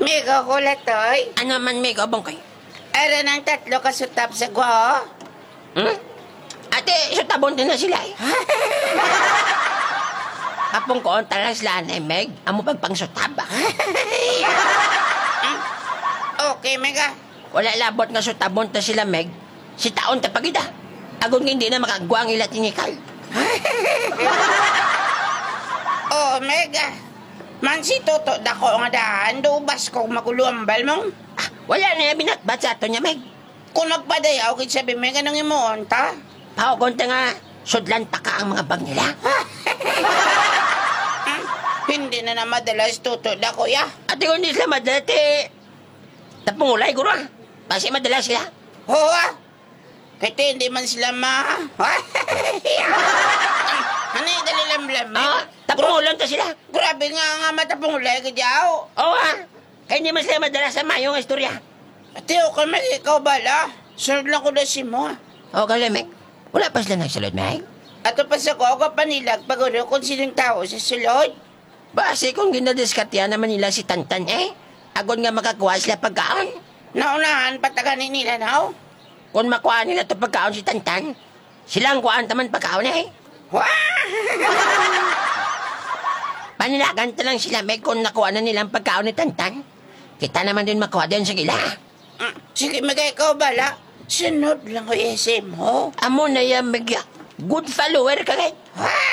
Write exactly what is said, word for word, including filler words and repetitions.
Migo ko, Latoy. Ano man, Migo Bongkoy? Ara nang tatlo ka sutab sa gwa, oh. Hmm? Ate, sutabon din na sila, eh. Apong ko ang talas lang, eh, Meg. Amo pagpangsutab, ah. Okay, Meg, ah. Wala labot nga sutabon ta sila, Meg. Si taon ta pagida. Agon nga hindi na makagwa ang ila tinikal. Oh, Meg, ah. Man si Toto dako nga daan, do ubas ko maguluambal mong. Ah, wala na yung binatbat sa ato niya, Meg. Kung magpadayaw, kit sabi, Meg, anong imuon ta? Pahugon ta nga, sudlan ta ka ang mga bag nila. Hindi na na madala si Toto dako, ya. Ate, kung di sila madala, ti, tapungulay, guro, ah. Basi madala sila. Oo, ah. Kay ti, hindi man sila ma-, Ani, dali lang, Blam, eh. Ah, tapungulon ta sila. Grabe nga, nga matapungulay ka diyaw. Oo, ah. Kay hindi man sila madala sa mayo nga istorya. Ate, okay, Meg, ikaw bala. Sunod lang ko na si mo, ah. O, kali, Meg. Wala pa sila nagsulod, Meg? Ato pa sa ko, ako panilag, pag-uro kung sinong tao sa sulod. Basi kung ginadiskatihan naman nila si Tantan, eh. Agon nga makakuha sila pagkaon. Naunahan, patagani nila, no? Kung makuha nila to pagkaon si Tantan, sila ang kuhaan taman pagkaon, eh. Wah! Panilagan ta lang sila, Meg, kung nakuha na nilang pagkaon ni Tantan. Kita naman din makuha din sa gila. Mm, sige, Meg, ikaw bala. Sunod lang ko isim mo. Amo na yan, Meg, ya. Good follower ka, kay. Wah!